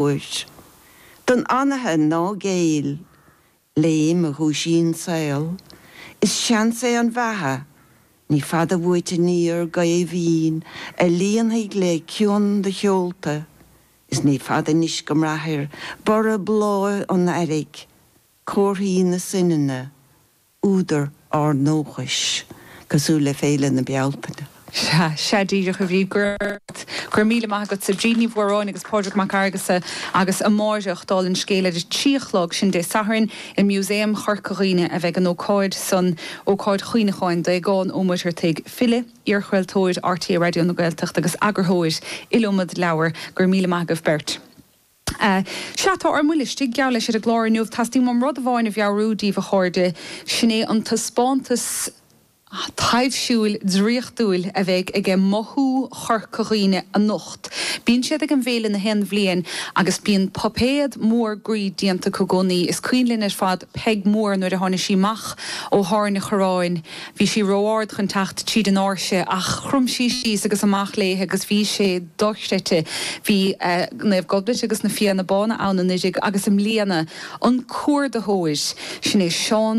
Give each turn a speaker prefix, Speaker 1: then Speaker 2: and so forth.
Speaker 1: Uair. Don anaithe ná géill, léim a dhúisíonn saol, Is seans é an bheatha, ní fada uait aniar Gaoth mhín a líonfaidh le cion do sheolta Is ní fada anois go mbraithfir borradh bláth an earraigh, Comharthaí na soininne, údar ár ndóchais, cosúil le Féile na Bealtaine.
Speaker 2: Sea, sea díreach, a Bhríd. Go raibh míle maith agatsa. Bríd Ní Mhóráin agus Pádraig Mac Fhearghusa agus amáireach, dála an scéil, ar a 3 a chlog, sin Dé Sathairn, i Músaem Chorca Dhuibhne a bheidh an ócáid san, ócáid chuimhneacháin d'Aogán Ó Muircheartaigh, file, iarchraoltóir RTÉ Raidió na Gaeltachta agus eagarthóir iliomad leabhar. Go raibh míle maith agaibh beirt. Sea, tá ár mbuille istigh, geall leis, ar an gclár inniu. Teastaíonn uaim rud amháin a mheabhrú díbh, a chairde, sin é an taispeántas taibhsiúil draíochtúil a bheidh aige Mothú Chorca Dhuibhne anocht. Bíonn siad ag an bhféile na haon bhliain agus bíonn puipéad mór groí déanta acu i gcónaí. Is cuimhin linn ar fad Peig Mór nuair a tháinig sí amach ó thairne Chorráin. Bhí sí ró-ard chun teacht tríd an áirse ach chrom sí síos agus amach léithe agus bhí sé dochreidte. Bhí Naomh Gobnait agus na Fianna Bána ann anuiridh agus i mbliana, an cuardaitheoir, sin é Seán Ó.